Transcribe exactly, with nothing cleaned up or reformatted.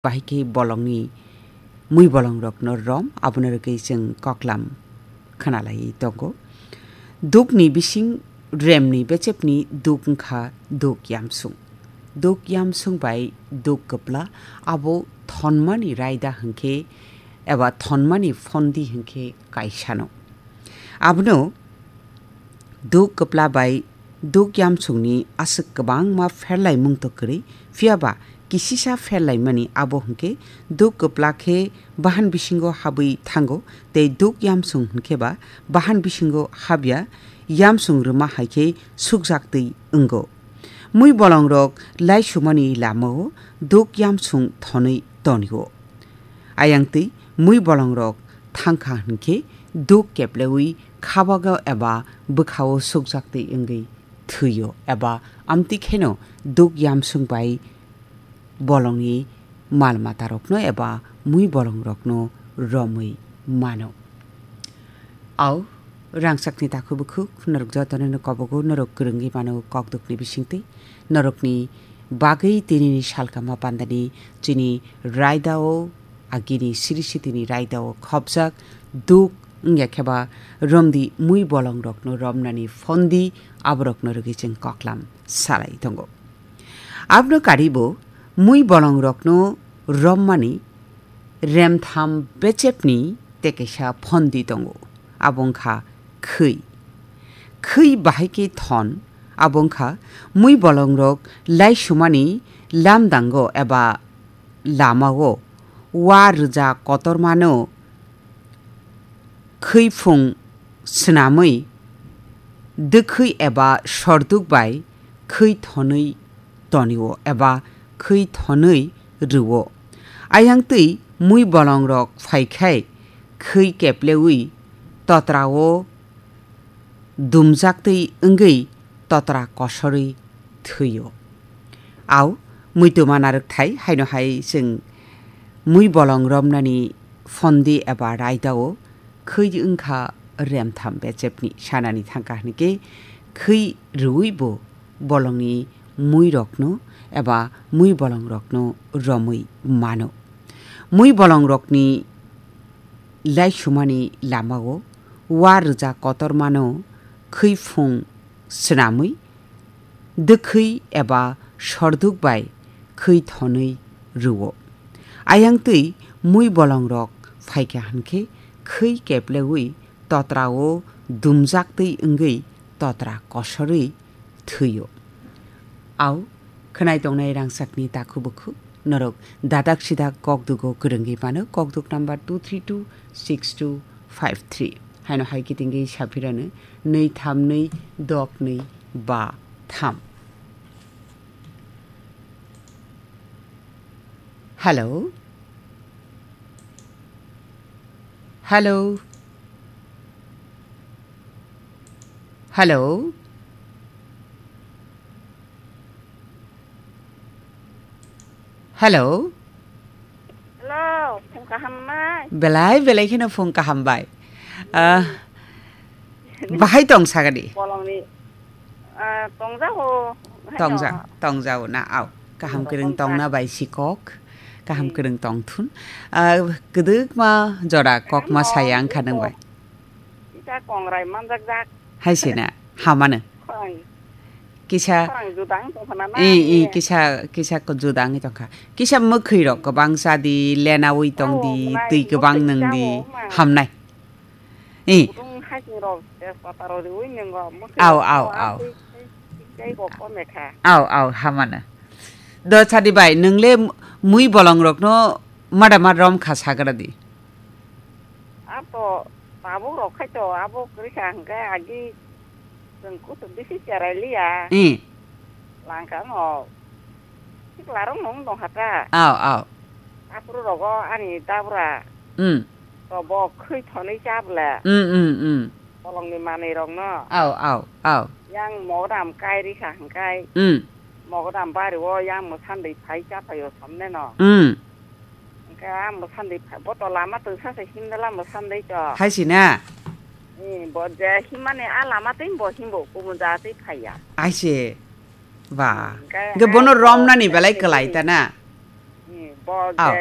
bahai khe bolongni mui bolongrokno rom, abono rwgwi chwng koklam khwnalaiwi tongo. Dukni bising remni bechepni duk wngkha duk yamsung. Duk yamsung bai duk kwpla abo thonmani raida hwnkhe eba thonmani phondi hwnkhe kaisano. Abono duk kwpla bai duk yamsungni aswk kwbangma pherlaimung to kwrwi, phiyaba kisisa pherlaimani abo hwnkhe duk kwpla khe bahan bisingo habwi thango, tei duk yamsung hwnkhe ba bahan bisingo habya, yamsung rwma hai khe sukjak twi wngo. Mui bolongrok laisumani lamao duk yamsung thonwi tonio. Ayang twi mui bolongrok thangkha hwnkhe duk keplewi khabago eba bwkhao sukjak twi wngwi thwio eba amtwi kheno duk yamsung bai bolongni mal matarokno eba mui bolongrokno romwi mano. Au, rangchakni takhuk bukhuk, norok jotono no kobogo, norok kwrwngwi mano kokdukni bisingtwi, norokni bagwi tinini salkama pandani chini raidao, agini siri sitini raidao khopjak duk wngya kheba romdi mui bolongrokno romnani phondi aborokno rwgwi chwng koklam salai tongo. Abno karibo mui bolongrokno rommani remtham bechepni tekesa phondi tongo, abo wngkha khwi. Khwi bahai khe thon, abo wngkha mui bolongrok laisumani lamdango eba lamao wa rwja kotormano khwi phung swnamwi dwkhwi eba sorduk bai khwi thonwi tonio eba khwi thonwi rwo. Ayang twi mui bolongrok phai khai khwi keplewi totrao dumjak twi wngwi totra kosorwi thwio. Au, muituma narwkthai haino hai chwng mui bolong romnani phondi eba raidao khwi wngkha remtham bechepni sanani thangkha hwnkhe khwi rwui bo bolongni muirokno eba mui bolongrokno romwi mano. Mui bolongrokni laisumani lamao wa rwja kotormano khwi phung swnamwi dwkhwi eba sorduk bai khwi thonwi rwo. Ayang twi mui bolongrok phaikha hwnkhe khwi keplewi totrao dumjak twi wngwi totra kosorwi thwio. Au, khwnai tongnai rangchakni takhu bukhu, norok dadak sidak kokdugo kwrwngwi mano, kokduk number two three two six two five three. Haino hai kitingwi saphirano nwi tham nwi dok nwi ba tham. Hello? Hello? Hello? Hello? Hello, phung kaham mai. Belai, belai kheno phung kaham bai. Ah, bahai tong sagadi? Bolongni, ah, tongjago. Tongja, tongjago na, au. Kaham kwrwng tongna bai sikok. Kaham kwrwng tongthun. Ah, kwdwkma jora kokma saya wngkha nang bai. Kisa kongrai manjakjak. Hai se na, hamano. Khorang. Kisa, khorang judang tongkha na na, eh, eh, kisa, kisa ko judang tongkha. Kisa mwkhwi rok kwbang sadi, lenawi tong di, twi kwbang nung di, hamnai. Eh. Kutung hasing rok, tejpata rok riwi nung go, mwkhwi rok kwbang twi, twi, twi go kome kha. Au, au, hamano. Do sadi bai, nung le mui bolong rok no mada ma rom kha sagra di. Ato tabuk rok khai to, abo kwrwi kha hwnkhe agi chwng kuchuk bisi cherai liya. Eh. Langka no sikla rok nung tong kha ta. Au, au. Aphuru rogo ani dabra. Hmm. To bo khwi thonwi cha bwle. Hmm, hmm, hmm. Bolongni manwi rok no. Au, au, au. Yang mogodam kai ri kha hwnkhe. Hmm. Mogodam bari o yang mwsandwi phai cha phaio somne no. Hmm. Hwnkhe ah mwsandwi pha-, bo to lama twngsa se himdala mwsandwi to. Hai si na? Eh, bo je himmani ah lama twi bo himbo kumun ja twi phaiya. Ai se. Ba. Hwnkhe hwnkhe ah bono bo romnani je belai se kwlai ta na? Eh, Oh.